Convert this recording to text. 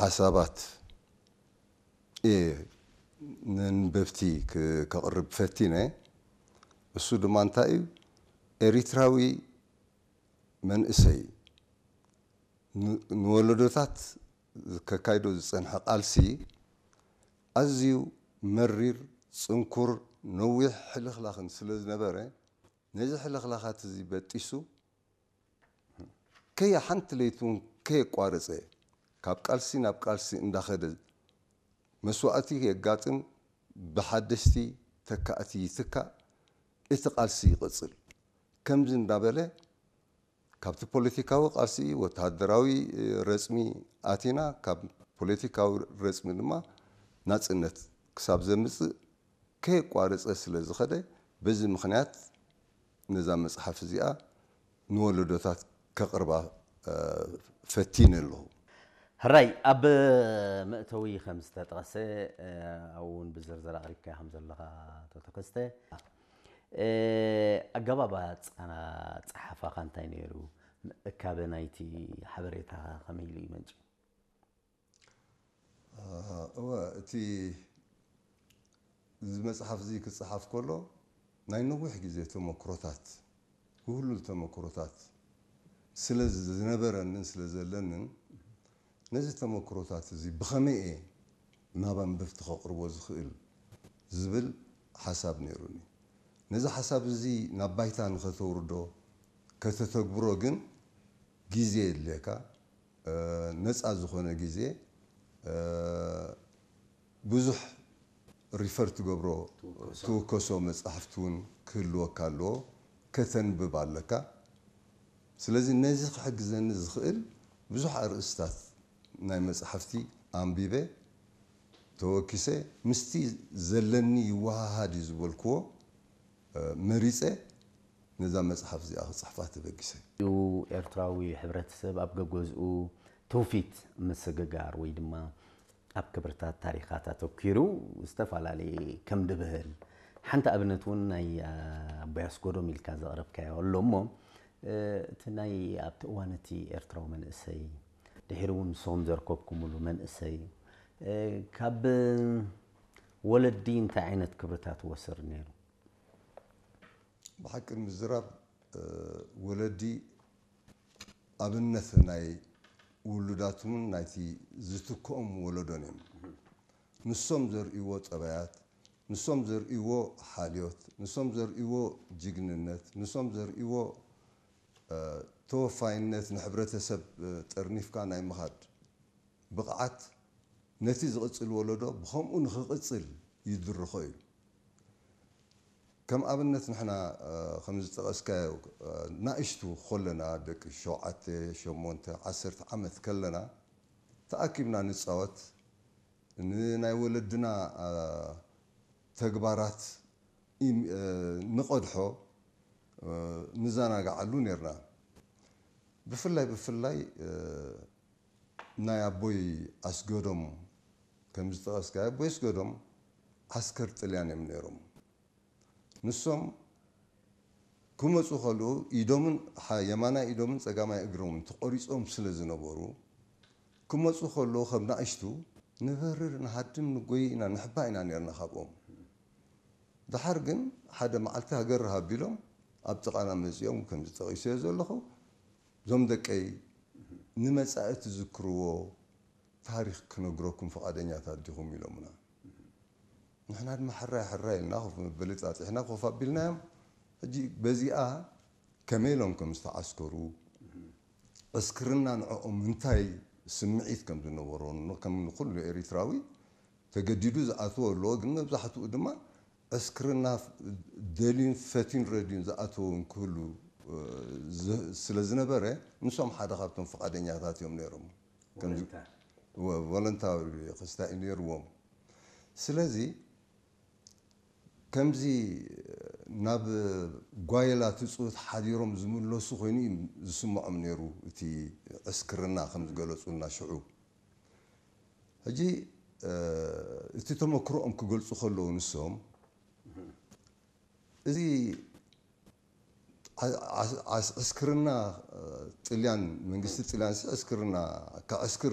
ሓሳባት እየ ነንበብቲ ክ- ከቕርብ ፈቲነ። እሱ ድማ እንታይ እዩ? ኤሪትራዊ መንእሰይ ን- ንወለዶታት ከካይዶ ዝጸንሐ ቃልሲ ኣዝዩ መሪር፣ ጽንኩር፣ ነዊሕ ሕልኽላኽን ስለ ዝነበረ፣ ነዚ ሕልኽላኻት እዚ በጢሱ ከየ ሓንቲ ለይቲ እውን ከየቋረጸ፣ ካብ ቃልሲ ናብ ቃልሲ እንዳኸደ፣ መስዋእቲ የጋጥም፣ ብሓደሽቲ ተካእቲ ይትካእ፣ እቲ ቃልሲ ይቕጽል። ከምዚ እንዳበለ ካብቲ ፖለቲካዊ ቃልሲ ወተሃደራዊ ረጽሚ ኣቲና፣ ካብ ፖለቲካዊ ረጽሚ ድማ ናጽነት ክሳብ ዘምጽእ ከየቋረጸ ስለ ዝኸደ፣ በዚ ምኽንያት ነዛ መጽሓፍ እዚኣ ንወለዶታት ከቕርባ ፈቲነ ኣለኹ። ሕራይ፣ ኣብ መእተዊ ከም ዝተጠቐሰ ኣብኡ እውን ብዝርዝር ኣቕሪብካዮ ከም ዘለኻ ተተከስተ፣ ኣገባብ ኣጻና ጸሓፋኻ እንታይ ነይሩ? ምእካበ ናይቲ ሓበሬታ ከመይ ኢሉ ይመንጭ? እወ፣ እቲ እዚ መጽሓፍ እዚ ክጽሓፍ ከሎ ናይ ነዊሕ ግዜ ተመክሮታት፣ ውህሉል ተመክሮታት ስለ ዝነበረንን ስለ ዘለንን፣ ነዚ ተመክሮታት እዚ ብኸመይ እየ ናብ ኣንበብቲ ከቕርቦ ዝኽእል ዝብል ሓሳብ ነይሩኒ። ነዚ ሓሳብ እዚ ናብ ባይታ ንኸተውርዶ፣ ከተተግብሮ ግን ግዜ የድልየካ። ነፃ ዝኾነ ግዜ ብዙሕ ሪፈር ትገብሮ፣ ትውከሶ መፃሕፍቲ እውን ክህልወካ ኣለዎ፣ ከተንብብ ኣለካ። ስለዚ ነዚ ክሕግዘኒ ዝኽእል ብዙሕ ኣርእስታት ናይ መፃሕፍቲ ኣንቢበ፣ ተወኪሰ፣ ምስቲ ዘለኒ ይወሃሃድ እዩ ዝበልክዎ መሪፀ ነዛ መፅሓፍ እዚኣ ክፅሕፋ ተበጊሰ። እዩ። ኤርትራዊ ሕብረተሰብ ኣብ ገገዝኡ ትውፊት ምስግጋር ወይ ድማ ኣብ ክብርታት ታሪኻት ኣተኪሩ ዝተፈላለየ ከም ድብህል ሓንቲ ኣብነት እውን ናይ ኣቦይ ኣስጎዶም ኢልካ ዘቕረብካዮ ኣሎ እሞ እቲ ናይ ኣብቲ እዋን እቲ ኤርትራዊ መንእሰይ ድሕሪ እውን ንስኹም ዘርከብኩምሉ መንእሰይ ካብ ወለዲ እንታይ ዓይነት ክብርታት ወስር ነይሩ? ብሓቂ ንምዝራብ ወለዲ ኣብነት ናይ ውሉዳቶምን ናይቲ ዝትክኦም ወለዶን እዮም። ንሶም ዘርእይዎ ጠባያት፣ ንሶም ዘርእይዎ ሓልዮት፣ ንሶም ዘርእይዎ ጅግንነት፣ ንሶም ዘርእይዎ ተወፋይነት፣ ንሕብረተሰብ ጠርኒፍካ ናይ ምኻድ ብቕዓት ነቲ ዝቕጽል ወለዶ ብኸምኡ ንኽቕጽል ይድርኾ እዩ። ከም ኣብነት ንሕና ከም ዝጠቐስካዮ ናእሽቱ ከለና ደቂ ሸውዓተ፣ ሸሞንተ፣ ዓሰርተ ዓመት ከለና ተኣኪብና ንጻወት፣ ንናይ ወለድና ተግባራት ንቐድሖ ንዘናግዓሉ ነርና። ብፍላይ ብፍላይ ናይ ኣቦይ ኣስገዶም ከም ዝጠቐስካዮ ኣቦይ ኣስገዶም ዓስከር ጥልያን እዮም ነይሮም። ንሶም ክመፁ ከለዉ ኢዶምን የማናይ ኢዶምን ፀጋማይ እግሮምን ተቆሪፆም ስለ ዝነበሩ ክመፁ ከለዉ ከም ናእሽቱ ንበርር ንሃድም ንጎይ ኢና ንሕባ ኢና ነርና ካብኦም። ደሓር ግን ሓደ መዓልቲ ሃገር ሃቢሎም ኣብ ጥቓና መፂኦም ከምዚ ጠቒሰዮ ዘለኹ እዞም ደቀይ ንመፃኢ ትዝክርዎ ታሪኽ ክነግረኩም ፍቓደኛታት ዲኹም ኢሎምና። ንሕና ድማ ሕራይ ሕራይ ኢልና ኮፍ መበሊ ፃፂሕና ኮፍ ኣቢልናዮም። ሕጂ በዚኣ ከመይ ኢሎም ከም ዝተዓስከሩ ዕስክርና ንዕኦም እንታይ ስምዒት ከም ዝነበሮ ከም ንኩሉ ኤሪትራዊ ተገዲዱ ዝኣትዎ ኣለዎ፣ ግን መብዛሕትኡ ድማ ዕስክርና ደልዩን ፈትዩን ረድዩን ዝኣተዎ ክህሉ ስለ ዝነበረ ንሶም ሓደ ካብቶም ፍቓደኛታት እዮም ነይሮም። ቮለንታሪ ክስታይ ነይርዎም። ስለዚ ከምዚ ናብ ጓይላ ትፅውት ሓዲሮም ዝምለሱ ኮይኑ እዩ ዝስምዖም ነይሩ እቲ ዕስክርና ከም ዝገለፁልና ሽዑ። ሕጂ እቲ ተመክሮኦም ክገልፁ ከለዉ ንሶም እዚ ዕስክርና ጥልያን መንግስቲ ጥልያን ዕስክርና ከዕስክር